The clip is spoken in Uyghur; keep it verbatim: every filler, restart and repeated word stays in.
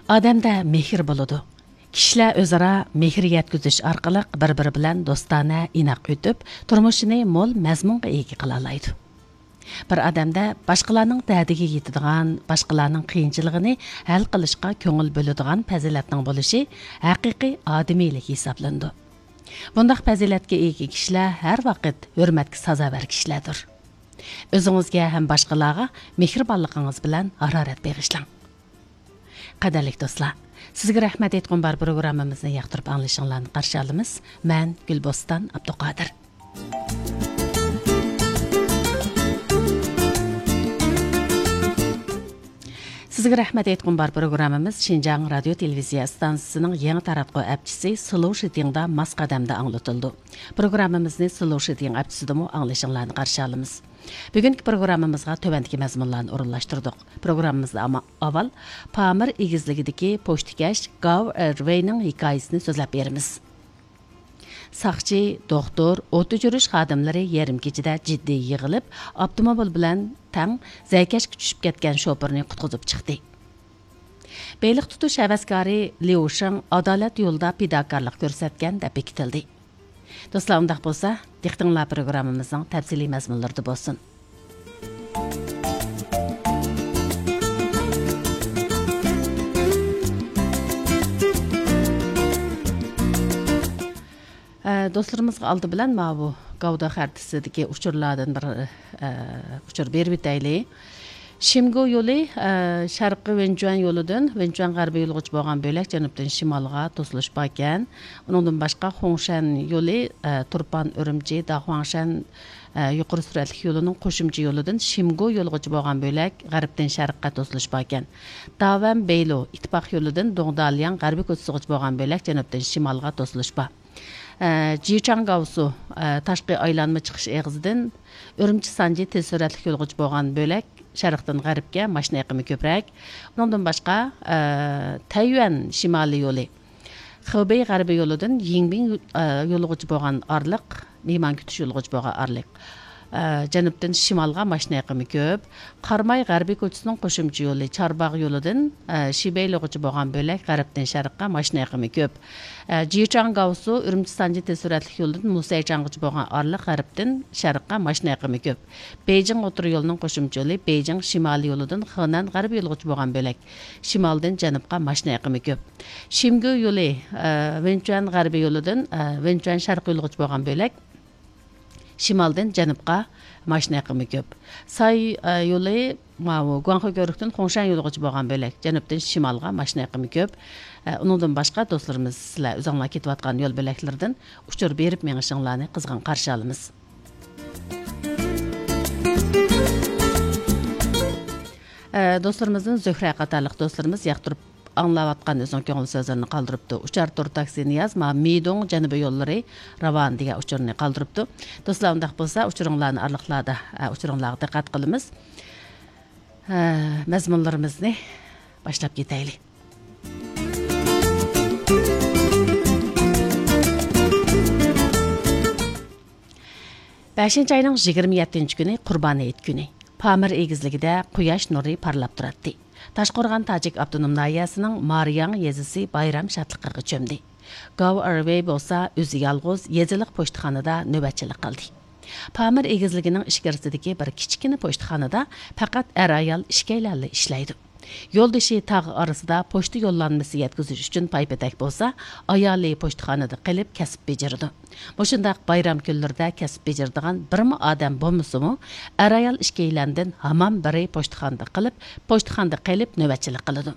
ئادەمدە مېھىر بولىدۇ. كىشىلەر ئۆزئارا مېھىر يەتكۈزۈش ئارقىلىق بىر-بىرى بىلەن دوستانە، ئىناق ئۆتۈپ، تۇرمۇشىنى مول مەزمۇنغا ئىگە قىلالايدۇ. بىر ئادەمدە باشقىلارنىڭ دەردىگە يېتىدىغان، باشقىلارنىڭ قىيىنچىلىقىنى ھەل قىلىشقا كۆڭۈل بۆلىدىغان پەزىلەتنىڭ بولۇشى ھەقىقىي ئادىمىيلىك ھېسابلىنىدۇ. بۇنداق پەزىلەتكە ئىگە كىشىلەر ھەر ۋاقىت ھۆرمەتكە سازاۋەر كىشىلەردۇر. ئۆزىڭىزگە ھەم باشقىلارغا مېھرىبانلىقىڭىز بىلەن ھارارەت بېغىشلاڭ. قەدىرلىك دوستلار، سىزگە رەھمەت ئېيتقۇم بار پروگراممىمىزنى ياقتۇرۇپ ئاڭلىشىڭلارنى قارشى ئالىمىز. مەن گۈلبوستان ئابدۇقادىر. سىزگە رەھمەت ئېيتقۇم بار پروگراممىمىز شىنجاڭ رادىيو تېلېۋىزىيە ئىستانسىسىنىڭ يېڭى تاراتقۇ ئەپچىسى سلوشىتىڭدا ماس قەدەمدە ئاڭلىتىلىدۇ. پروگراممىمىزنى سلوشىتىڭ ئەپچىسىدىمۇ ئاڭلىشىڭلارنى قارشى ئالىمىز. بۈگۈنكى پروگراممىمىزغا تۆۋەندىكى مەزمۇنلارنى ئورۇنلاشتۇردۇق. پروگراممىمىزدا ئاما-، ئاۋۋال پامىر ئېگىزلىكىدىكى پوچتىكەش گاۋ ئېرۋېينىڭ ھېكايىسىنى سۆزلەپ بېرىمىز. ساقچى، دوختۇر، ئوت ئۆچۈرۈش خادىملىرى يېرىم كېچىدە جىددىي يىغىلىپ، ئاپتوموبىل بىلەن تەڭ زەركەشكە چۈشۈپ كەتكەن شوپۇرنى قۇتقۇزۇپ چىقتى. بېلىق تۇتۇش ھەۋەسكارى ليۇ شېڭ ئادالەت يولىدا پىداكارلىق كۆرسەتكەن دەپ بېكىتىلدى. دوستلار، ئۇنداق بولسا، دىققىتىڭلار پروگراممىمىزنىڭ تەپسىلىي مەزمۇنلىرىدا بولسۇن. ئە، دوستلىرىمىزغا ئالدى بىلەن ماۋۇ گاۋدا خەرىتىسىدىكى ئۇچۇرلاردىن بىر، ئە، ئۇچۇر بېرىپ ئۆتەيلى. شىمگۇ يولى، ئە، شەرقىي ۋېنچۈەن يولىدىن ۋېنچۈەن غەربىي يولىغىچە بولغان بۆلەك جەنۇبتىن شىمالغا توسۇلۇش باركەن. ئۇنىڭدىن باشقا، خۇڭشەن يولى، ئە، تۇرپان ئۈرۈمچى، داخۇاڭشەن، ئە، يۇقىرى سۈرئەتلىك يولىنىڭ قوشۇمچە يولىدىن شىمگۇ يولىغىچە بولغان بۆلەك غەربتىن شەرققە توسۇلۇش باركەن. داۋەن بېيلۇ ئىتتىپاق يولىدىن دۇڭدالياڭ غەربىي كوچىسىغىچە بولغان بۆلەك جەنۇبتىن شىمالغا توسۇلۇش بار. ئە، جىچاڭگاۋسۇ، ئە، تاشقى ئايلانما چىقىش ئېغىزىدىن ئۈرۈمچى سانجى تېز سۈرئەتلىك يولغىچە بولغان بۆلەك شەرقتىن غەربكە ماشىنا ئېقىمى كۆپرەك. ئۇنىڭدىن باشقا، ئە، تەييۈەن شىمالىي يولى، خېبېي غەربىي يولىدىن يىڭبىڭ، ئە، يولىغىچە بولغان ئارىلىق، مېھمان كۈتۈش يولىغىچە بولغان ئارىلىق، ئە، جەنۇبتىن شىمالغا ماشىنا ئېقىمى كۆپ. قاراماي غەربىي كوچىسىنىڭ قوشۇمچە يولى چارباغ يولىدىن، ئە، شىبېيلۇغىچە بولغان بۆلەك غەربتىن شەرققە ماشىنا ئېقىمى كۆپ. ئە، جىچاڭگاۋسۇ ئۈرۈمچى سانجى تېز سۈرئەتلىك يولىدىن مۇسەيچاڭغىچە بولغان ئارىلىق غەربتىن شەرققە ماشىنا ئېقىمى كۆپ. بېيجىڭ ئوتتۇرا يولىنىڭ قوشۇمچە يولى بېيجىڭ شىمالىي يولىدىن خېنەن غەربىي يولىغىچە بولغان بۆلەك شىمالدىن جەنۇبقا ماشىنا ئېقىمى كۆپ. شىمگۇ يولى، ئە، ۋېنچۈەن غەربىي يولىدىن، ئە، ۋېنچۈەن شەرقىي يولىغىچە بولغان بۆلەك شىمالدىن جەنۇبقا ماشىنا ئېقىمى كۆپ. ساي، ئە، يولى ماۋۇ گۇاڭخې كۆۋرۈكتىن خۇڭشەن يولىغىچە بولغان بۆلەك جەنۇبتىن شىمالغا ماشىنا ئېقىمى كۆپ. ئە، ئۇنىڭدىن باشقا دوستلىرىمىز، سىلەر ئۆزۈڭلار كېتىۋاتقان يول بۆلەكلىرىدىن ئۇچۇر بېرىپ مېڭىشىڭلارنى قىزغىن قارشى ئالىمىز. ئە، دوستلىرىمىزدىن زۆھرە قاتارلىق دوستلىرىمىز ياقتۇرۇپ ئاڭلاۋاتقان ئۆزىنىڭ كۆڭۈل سۆزلىرىنى قالدۇرۇپتۇ. ئۇچار تۇر تاكسى نىياز، ما مىدۇڭ جەنۇبىي يوللىرى راۋان دېگەن ئۇچۇرنى قالدۇرۇپتۇ. دوستلار، ئۇنداق بولسا، ئۇچۇرۇڭلارنى ئارىلىقلاردا، ئە، ئۇچۇرۇڭلارغا دىققەت قىلىمىز. ئە، مەزمۇنلىرىمىزنى باشلاپ كېتەيلى. بەشىنچى ئاينىڭ يىگىرمە يەتتىنچى كۈنى قۇربان ھېيت كۈنى. پامىر ئېگىزلىكىدە قۇياش نۇرى پارلاپ تۇراتتى. تاشقورغان تاجىك ئاپتونوم ناھىيەسىنىڭ مارىياڭ يېزىسى بايرام شادلىقىغا چۆمدى. گاۋ ئېرۋېي بولسا ئۆزى يالغۇز يېزىلىق پوچتىخانىدا نۆۋەتچىلىك قىلدى. پامىر ئېگىزلىكىنىڭ ئىچكىرىسىدىكى بىر كىچىككىنە پوچتىخانىدا پەقەت ئەر-ئايال ئىككىيلەنلا ئىشلەيدۇ. يولدىشى تاغ ئارىسىدا پوچتا يوللانمىسى يەتكۈزۈش ئۈچۈن پايپېتەك بولسا، ئايالى پوچتىخانىدا قېلىپ كەسىپ بېجىرىدۇ. مۇشۇنداق بايرام كۈنلىرىدە كەسىپ بېجىرىدىغان بىرمۇ ئادەم بولمىسىمۇ، ئەر-ئايال ئىككىيلەندىن ھامان بىرى پوچتىخانىدا قېلىپ، پوچتىخانىدا قېلىپ نۆۋەتچىلىك قىلىدۇ.